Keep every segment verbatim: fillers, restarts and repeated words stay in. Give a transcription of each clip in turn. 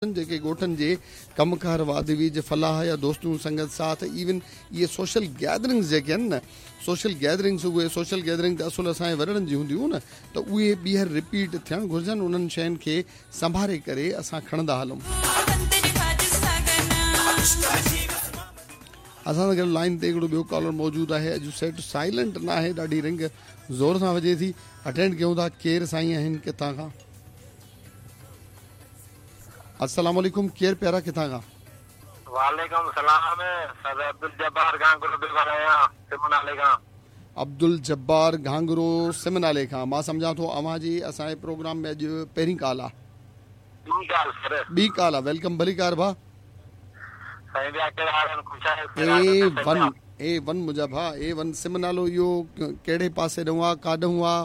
जेके ॻोठनि जे कमकार वाध वीझ फलाह या दोस्तियूं संगत साथ इवन इहे सोशल गैदरिंग्स जेके आहिनि न, सोशल गैदरिंग्स, उहे सोशल गैदरिंग त असुल असांजे वॾड़नि जी हूंदियूं न, त उहे ॿीहर रिपीट थियणु घुर्जनि। उन्हनि शयुनि खे संभारे करे असां खणंदा हलूं। असां सां गॾु लाइन ते हिकिड़ो ॿियो कॉलर मौजूदु आहे। अॼु सेट साइलेंट न आहे, ॾाढी रिंग ज़ोर सां वॼे थी। अटेंड कयूं था, केरु साईं आहिनि, किथां खां? अस्सलाम वालेकुम, केरु प्यारा, किथां खां? वालेकुम सलाम सर, अब्दुल जब्बार घांगरो पियो ॻाल्हायां, सिमनाले खां। अब्दुल जब्बार घांगरो सिमनाले खां। मां सम्झां थो अव्हां जी असांजे प्रोग्राम में अॼु पहिरीं कॉल आहे। ॿी कॉल सर। ॿी कॉल आहे। Welcome, भलीकार भाउ। साईं, ॿिया कहिड़ा हाल आहिनि? ख़ुशि आहियो? ए वन, ए वन मुंहिंजा भाउ, ए वन। सिमनालो इहो कहिड़े पासे ॾांहुं आहे, काॾांहुं आहे,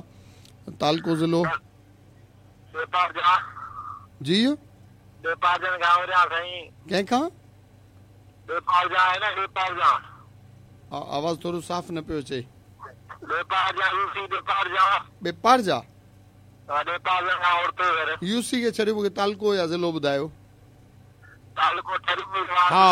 तालको ज़िलो? जी, कंहिंखां? आवाज़ थोरो साफ़ न पियो अचे। बेपारजा यूसी खे छॾियो, मूंखे तालको या ज़िलो ॿुधायो। हा,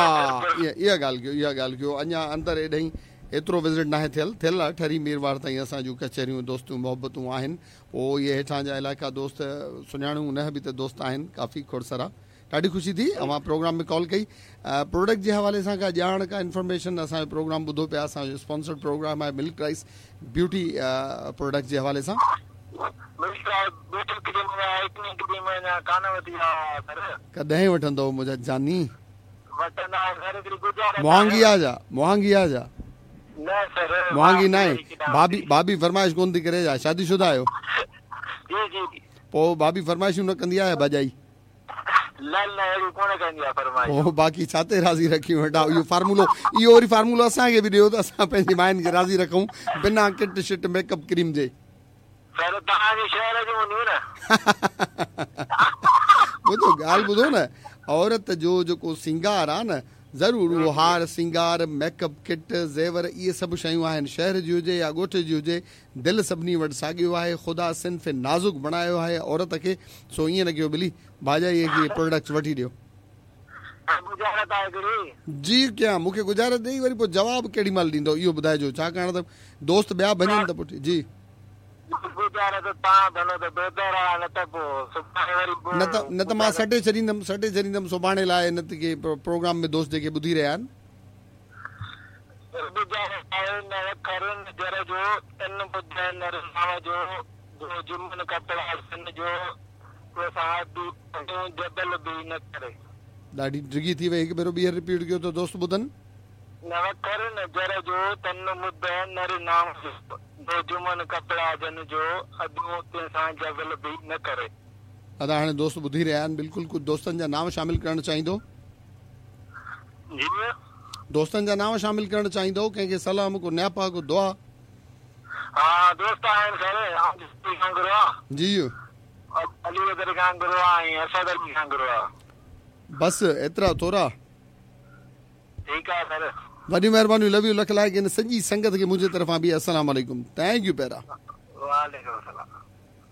इहा ॻाल्हि कयो, इहा ॻाल्हि कयो। अञा अंदरि एॾे एतिरो विज़िट न आहे थियल, थियल आहे ठरी मीरवार ताईं असां जूं कचहरियूं, दोस्तियूं, मोहबतूं आहिनि। पोइ इहे हेठां जा इलाइक़ा दोस्त सुञाणूं न बि त दोस्त आहिनि काफ़ी खोड़ सारा। ॾाढी ख़ुशी थी अव्हां प्रोग्राम में कॉल कई। प्रोडक्ट जे हवाले सां का ॼाण, का इन्फॉर्मेशन? असांजो प्रोग्राम ॿुधो पिया, असांजो स्पॉन्सर्ड प्रोग्राम आहे मिल्क राइस ब्यूटी प्रोडक्ट जे हवाले सां। कॾहिं वठंदव मुंहिंजा जानी? मुहांगी आहे छा? मुहांगी आहे छा? मुहांगी न आहे। भाभी, भाभी फरमाइश कोन थी करे छा? शादीशुदा आहियो? पोइ भाभी फरमाइशूं न कंदी आहे भॼाई? पोइ बाक़ी छा ते राज़ी रखी वेठा? इहो फार्मूलो, इहो वरी फार्मूलो असांखे बि ॾियो त असां पंहिंजी माइनि खे राज़ी रखूं बिना किट शिट मेकअप क्रीम जे। ॿुधो, ॻाल्हि ॿुधो न, औरत जो जेको सिंगार आहे न, ज़रूरु उहो हार सिंगार, मेकअप किट, ज़ेवर, इहे सभु शयूं आहिनि। शहर जी हुजे या ॻोठ जी हुजे, दिलि सभिनी वटि साॻियो आहे। ख़ुदा सिन्फ़ नाज़ुक बणायो आहे औरत खे। सो ईअं न कयो ॿिली, भाॼाईअ खे प्रोडक्ट्स वठी ॾियो। जी कयां, मूंखे गुज़ारत ॾेई वरी पोइ जवाबु केॾी महिल ॾींदो इहो ॿुधाइजो, छाकाणि त दोस्त ॿिया वञनि त पुठि जी न त न त मां सटे छॾींदमि, सटे छॾींदमि सुभाणे लाइ हिन खे प्रोग्राम में दोस्त जेके ॿुधी रहिया आहिनि। ॾाढी डिघी थी वई, हिकु भेरो ॿीहर रिपीट कयो त दोस्त ॿुधनि। नवखर नज़र जो तन मुद नर नाम जो जुमन कपिड़ा जन जो अदूं तंहिंसां जबल बि न करे। अदा हाणे दोस्त ॿुधी रहिया आहिनि, बिल्कुलु कुझु दोस्तनि जा नाम शामिल करणु चाहींदो? जी, दोस्तनि जा नाम शामिल करणु चाहींदो? कंहिंखे सलाम, को न्यापा, को दुआ? हा, दोस्त आहिनि सर, जी, अली बदर घांगरो आहे, असद अली घांगरो आहे। बसि एतिरा थोरा? ठीकु आहे सर, वॾी महिरबानी, लव you, लख लाइक़। हिन सॼी संगत खे मुंहिंजे तरफ़ां बि अस्सलाम वालेकुम। Thank you प्यारा। वालेकुम सलाम।